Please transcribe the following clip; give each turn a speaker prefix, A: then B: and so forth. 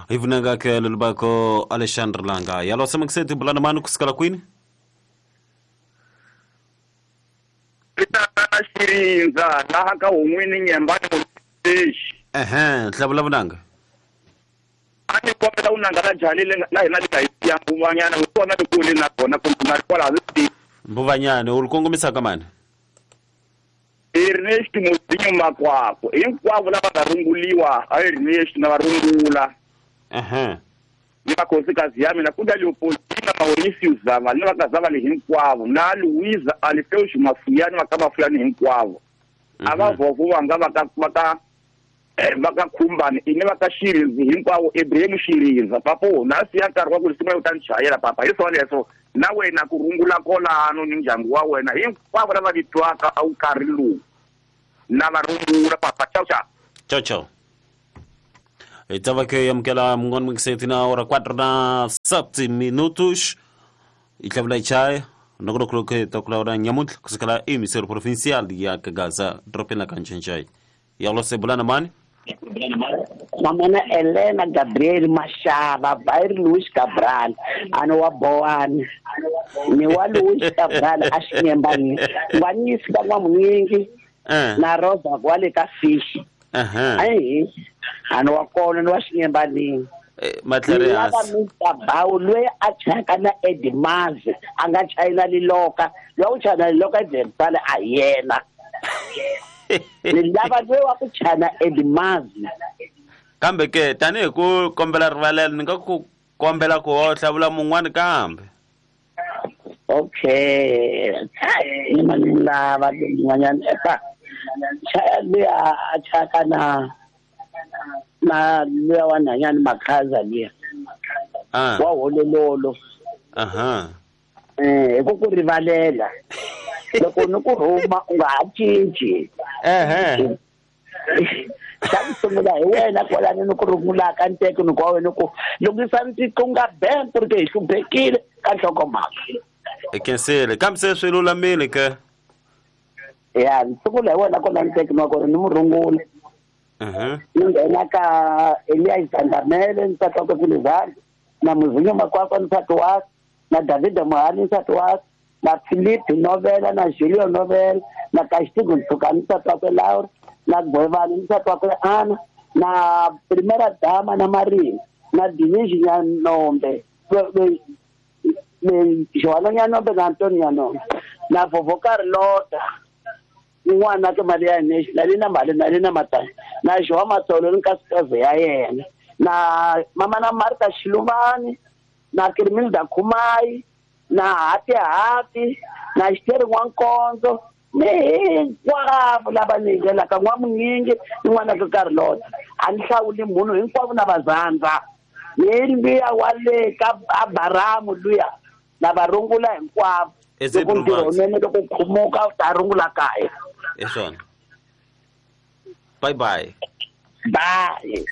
A: Ivunanga ke lulubako Alexandre Langa. Yalo semakuseti bulana mani kusikala kwini?
B: Ritana Shirinza laha ka un'wini nyembani mulexi.
A: Ehe, hlabula vunanga.
B: Ani kombela unanga la jali la hina lika ya mbuvanyana kona kule na kona kumbe kwala zi.
A: Mbuvanyana u kongomisa ka mani?
B: Ernest Muzinyo Makwako. Hinkwavo lava nga runguliwa a Ernest na varungula.
A: Ehe.
B: Ni vakhosikazi ya mina ku nga Leopoldina Mauricio Zava ni vakazava le hinkwavo na Luisa Alfeus Mafuyani va ka Mafuyani hinkwavo. A va vovo vanga va ka Khumbani ini va ka Shirinzi hinkwavo Ibrahim Shirinza papo na siya nkarhi wa ku risimu u ta ni chayela papa hi swona leswo na wena ku rungula kolano ni ndyangu wa wena hinkwavo lava vitwaka a wu karhi lowu na va rungula papa ciao ciao.
A: Ciao ciao. Estava que amukela mun'wana mingiseti na ora 4 na 7 minutos i tlhavula chaya nokolokuloke takulawula nyamuntlha kusukela emisero provincial ya Kagaza dorobeni la Kanchenjai. Yalo sebulana mani?
C: Mamana Elena Gabriel Mashava Bair Luis Cabral ano wa Boani ni wa Luis Cabral a xinyembani ngwanyisi ka n'wamunyingi na Rosa kwale ka fish. Ai ano wa kona ni wa xinyembanini
A: matlere
C: Mr. Bawu loyi a chayaka na Edmaz a nga chayina liloka loyi u chayina liloka Edmaz a yena ni lava loyi wa ku chayina Edmaz.
A: Kambe ke tanihi ku kombela rivalelo ni nga ku kombela ku hlavula mun'wani kambe.
C: Okay, ni mani lava mun'wanyana eka chaya luya a chayaka na luya wa nhanyani Makhaza luya wa holololo. Hi ku rivalela loko ni ku rhuma u nga ha cinci. Xa ku sungula hi wena kwalani ni ku rungulaka nteko ni ku wa wena ku lunghisa ntiqunga bank ku ri ke hi hluphekile ka nhlokomhaka.
A: I khensile kambe se swi lulamile ke?
C: Ya ni sungula hi wena kwalani nteko ni wa ku ri ni mu rungula. Ni nghena ka Elias Zandamele nsati wakwe Filizani na Muzinyo Makwakwa nsati wakwe na Davida Muhani nsati wakwe na Philip Novela na Julio Novela na Castigo Ntsukani nsati wakwe Laura na Gwevani nsati wakwe Ana na Primera Dama na Marina na Denise Nyanombe Joana Nyanombe na Antonio Nyanombe na Vovo Carlota n'wana ke mali ya na le na mali na le na matani na Joa Matsolo ni nkosikazi ya yena na mama na Martha Shiluvani na Kirmilda Khumai na Hati Hati na Xiteri N'wankonzo ni hinkwavo lava ni nghenaka n'wamunyingi ni n'wana ka Carlota a ni hlawuli munhu hinkwavo na vazandza ni luya wa le ka Abaramu luya na va rungula hinkwavo loko ntirho wunene loko khumuka u ta rungula kaya.
A: Hi swona. Bye bye.
C: Bye.